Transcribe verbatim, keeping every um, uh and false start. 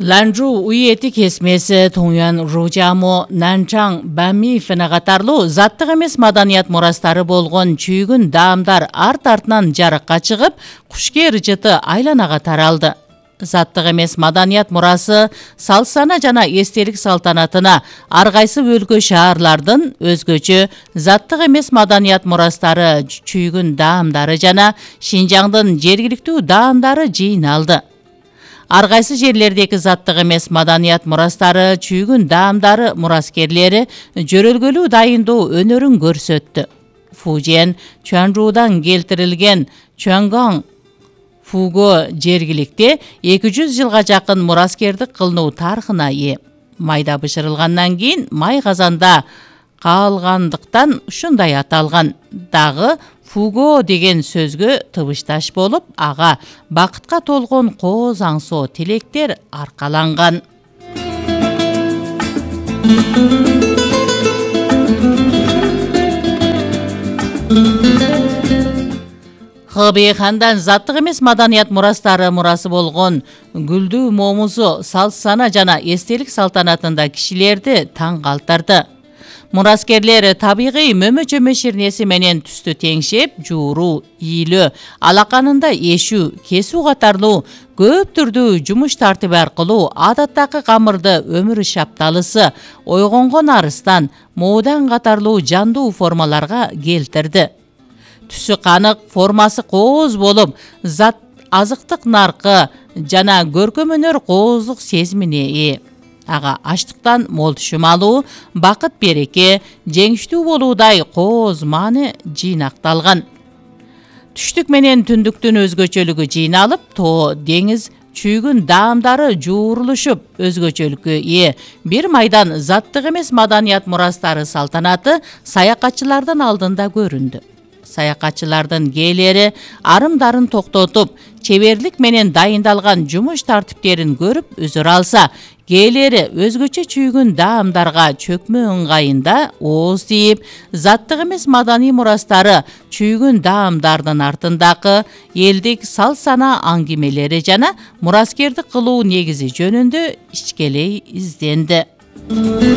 Ланчжоу уйети кесмеси, Тонgyuan Ружамо, Нанчан, Бами фена катарлуу заттык эмес маданият мурастары болгон чүйгүн даамдар арт-артынан жарыкка чыгып, Кушкер жыты айланага таралды. Заттык эмес маданият мурасы салт-сана жана эстелик салтанатына ар кайсы өлкө шаарлардын өзгөчө заттык эмес маданият мурастары, чүйгүн даамдары жана Шинжаңдын жергиликтүү даамдары жыйналды. Ар кайсы жерлердеги заттык эмес маданият мурастары, чүйгүн даамдары мураскерлери жөрөлгөлүү дайындоо өнөрүн көрсөттү. Фужен, Чуанчжуудан келтирилген Чуанган Фуго жергиликте эки жүз жылга жакын мураскердик кылынуу тарыхына ээ. Майда бышырылгандан кийин май казанда калгандыктан ушундай аталган. Дагы Фуго деген сөзгө тыбышташ болуп, ага бакытка толгон кооз аңсоо тилектер аркаланган. Хыбый хандан заттык эмес маданият мурастары мурасы болгон Гүлдүү момузу салт-сана жана эстелик салтанатында кишилерди таң калтырды. Мураскерлер табигый мөмө-чөмө ширнеси менен түстү теңшеп, жууруу, ийилөө, алаканында эшүү, кесүү катарлуу көп түрдүү жумуш тартиби аркылуу адаттагы камырды өмүр шапталысы, ойгонгон арыстан, моодан катарлуу жандуу формаларга келтирди. Түсү канык, формасы кооз болуп, зат азыктык наркы жана көркөм өнөр кооздук сезимине ээ. Ага ачтыктан мол түшүм алуу, бакыт береке, жеңиштүү болуудай кооз мааны жыйнакталган. Түштүк менен түндүктүн өзгөчөлүгү жыйналып, тоо, деңиз, чүйгүн даамдары жуурулушуп, өзгөчөлүккө ээ. Бир майдан заттык эмес маданият мурастары салтанаты саякатчылардын алдында көрүндү. Саякатчылардын кээлери арымдарын токтотуп, чеберлик менен дайындалган жумуш тартиптерин көрүп үзүр алса, кээлери өзгөчө чүйгүн даамдарга чөкмө ыңгайында ооз тийип, заттык эмес маданий мурастары, чүйгүн даамдардын артындагы элдик салт-сана аңгемелери жана мураскердик кылуу негизи жөнүндө ичкелей изденди.